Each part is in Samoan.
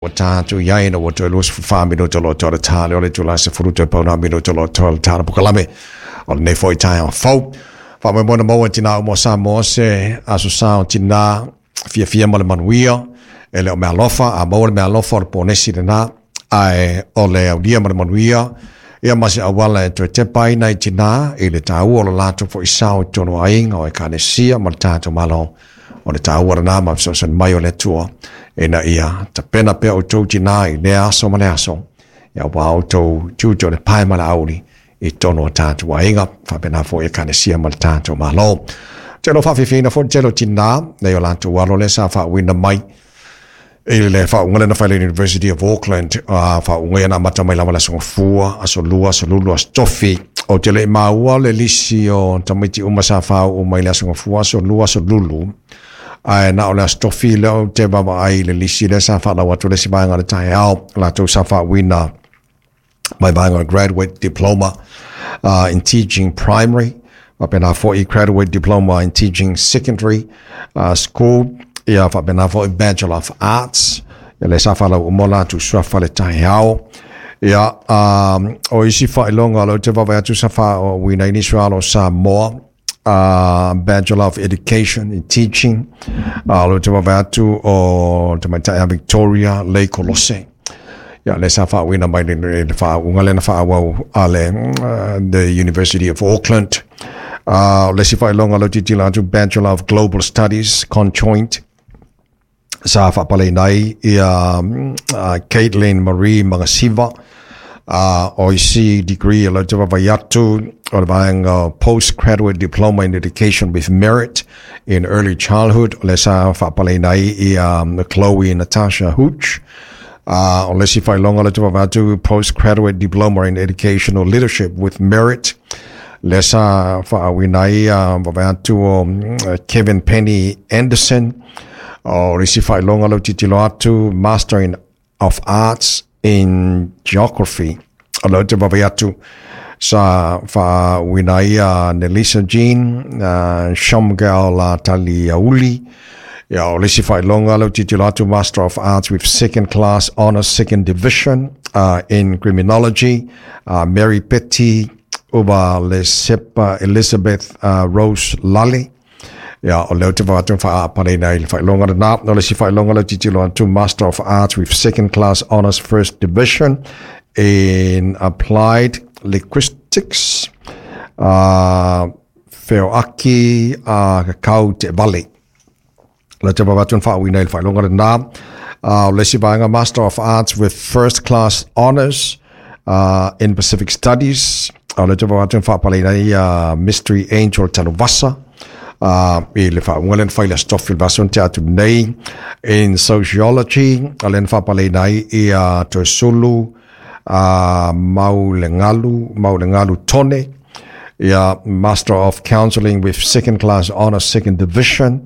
Ua tatou i ai ina ua toe 24 minute o lo o toe ta le o le itula 10 toe pau nā minute o lo o toe ta le pokalame o lenei foi taeao fou. Faamoemoe na maua e tinā uma o Samoa se aso sa o tinā fiafia ma le manuia, e le o meaalofa, a maua le meaalofa o le ponesi lena, ae o le aulia ma le manuia, ia ma se auala e toe tepa ai nai tinā i le taua o lo latou foi sao i totonu o aiga, o ekalesia ma le tatou Malo. O le taua lena ma fesoasoani mai o le Atua ina ia tapena pea outou tinā i lea aso ma le aso, ia aua outou tiute o le pae ma le auli i totonu o tatou aiga, faapena foi ekalesia ma le tatou Malo. Te lo faafiafiaina foi le tele o tinā nei o latou alo lea sa faauuina mai i le faauuga lea na fai le University of Auckland, faauuga ia na amata mai lava le aso Gafua, aso Lua, aso Lulu, aso Tofi. Ou te le i maua le lisi o tamaiti uma sa faauu mai le aso Gafua, aso Lua, aso Lulu, ae na o le aso Tofi lea ou te vaavaai i le lisi lea sa faalau atu le isi vaega o le taeao, latou sa faauuina mai vaega o le Graduate Diploma in Teaching Primary, faapena foi Graduate Diploma in Teaching Secondary School, ia faapena foi Bachelor of Arts, ia lea sa faalau uma o latou suafa le taeao. Ia, o isi faailoga o lea ou te vaavaai atu sa faauuina ai nisi o alo o Samoa, Bachelor of Education in Teaching, o lea ou te vaavaai atu o tamaitai a Victoria Lei Kolose. Ia, lea sa faauuina mai le faauuga lea na faaauau a le the University of Auckland. O le isi faailoga o lea ou te tilotilo atu, Bachelor of Global Studies Conjoint, sa faapaleina ai ia Caitlin Marie Magasiva. O isi degree o lea ou te vaavaai atu o le vaega o Postgraduate Diploma in Education with Merit in Early Childhood, o lea sa faapaleina ai ia Chloe Natasha Hooch. O le isi faailoga o lea ou te vaavaai atu, Postgraduate Diploma in Educational Leadership with Merit, lea sa faauuina ai vaavaai atu o Kevin Penny Anderson. O le isi faailoga lea ou te tilotilo atu, Master of Arts in Geography, o lea ou te vaavaai atu sa faauuina ai Nelisa Jean Shomgal Taliauli. Ia, o le isi faailoga lea ou te tilotilo atu, Master of Arts with Second Class Honours Second Division in Criminology, Mary Petty Uva Lesepa Elizabeth Rose Lale. Ia, o lea ou te vaai atu faaapaleina ai le faailoga lena. O le isi faailoga lea ou te tilotilo atu, Master of Arts with Second Class Honours First Division in Applied Linguistics, Feoaki Kakau Te Vale. Lea ou te vaai atu na faauuina ai le faailoga lena. O le isi vaega, Master of Arts with First Class Honours in Pacific Studies. O lea ou te vaai atu na faapaleina ai Mystery Angel Tanuvasa i le faauuga lea na fai i le Aso Tofi o le vaiaso na tea atu nei. In Sociology, o lea na faapaleina ai ia Toesulu Maulegalu, Maulegalu Tone. Ia, Master of Counselling with Second Class Honours Second Division.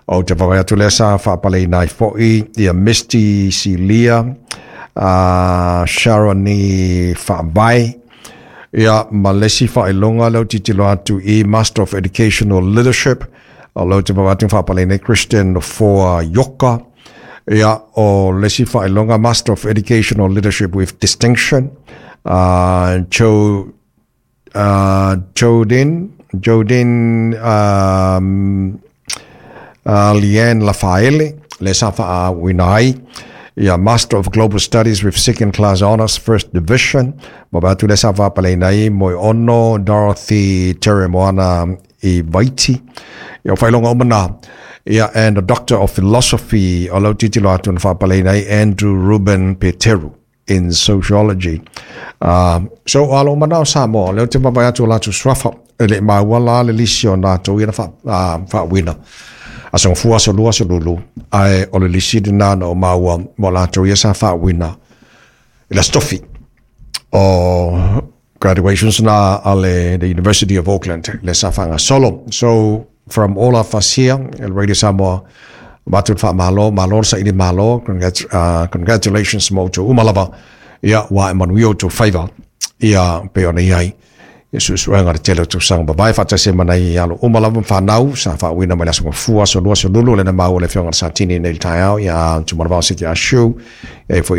Ou te vaavaai atu lea sa faapaleina ai foi ia Misty Silia Sharoni Faavae. Ia, ma le isi faailoga lea ou tilotilo atu i Master of Educational Leadership. O lea ou te vaavaai atu na faapaleina ai Christian Nofoa Ioka. Ia, o le isi faailoga, Master of Educational Leadership with Distinction, Joe Jodin, Jodin Liane Lafaele, lea sa faauuina ai ia Master of Global Studies with Second Class Honours First Division, ma vaai atu lea sa faapaleina ai Moeono Dorothy Teremoana i Vaiti. Ia, o faailoga uma na. Ia, and a Doctor of Philosophy, o lau tilotilo atu na faapaleina ai Andrew Ruben Peteru in Sociology. So, o alo uma na o Samoa, lea ou te vaavaai atu o latou suafa, e le i maua la le lisi o latou ia na faauuina. Aso Gafua, aso Lua, aso Lulu, ae o le lisi lena na ou maua mo latou ia sa faauuina i le Aso Tofi o graduations na a le the University of Auckland le sa faagasolo. So from all of us here at Radio Samoa, avatu le faamalo, malo le saili malo, congratulations mo outou uma lava, ia ua ae manuia outou faiva, ia pei ona i ai. Ia suesuega le tele o tausaga mavae faatasi ai ma nai alo uma lava ma fanau sa faauuina mai le Aso Gafua, Aso Lua, Aso Lulu, lena maua le afioga i le Satini nei i le taeao, ia Tumanavao Siti Ashu, e foi.